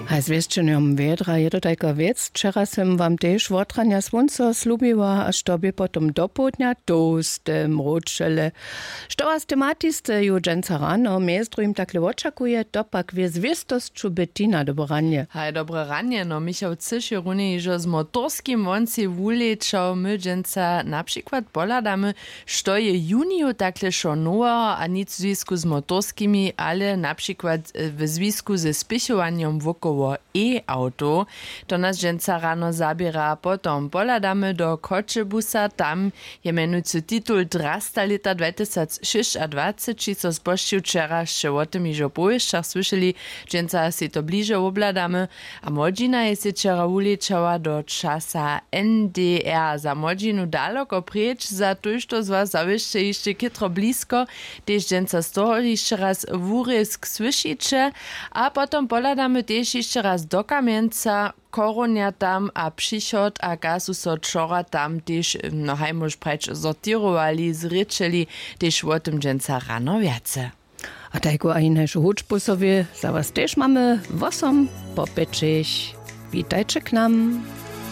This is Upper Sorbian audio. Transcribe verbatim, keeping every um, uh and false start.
A zwěsćenjom wjedra je to tajka wěc, wčera sym wam tež wotranja słónco slubiła a što bě potom dopołdnja tołste mróčele. Što was tematisteju dźensa rano mjez druhim takle wočakuje, to pak wě zwěstosću bettina dobre ranje. Haj dobre ranje. No michał cyš je runje hižo z motorskim woncej wulečał my dźensa na přikład pohladamy, što je juniju takle wšo noweho a nic w zwisku z motorskimi ale na přikład w zwisku ze spěchowanjom wokoło e-awtow. To nas dźensa rano zaběra potom pohladamy do choćebusa, tam je mjenujcy titul drasta lěta dwatysacšěsćadwaceći so spožčił wčera sće wo tym hižo w powěsćach słyšeli. Dźensa sej to bliže wobhladamy. A młodźina je sej wčera wulečała do časa ndr za młodźinu daloko preč za tójšto z was zawěsće hišće chětro blisko. Tež dźensa z toho hišće raz wurězk słyšiće. A potom pohladamy tež hišće raz do kamjenca, chorunja tam a přichod a kaž su so wčora tam tež no haj móž prać sortěrowali zrěčeli, tež wo tym dźensa rano wjace. A tajku a hinašu hudźbu sobie za was tež mamy wosom po pěćich. Witajće k nam.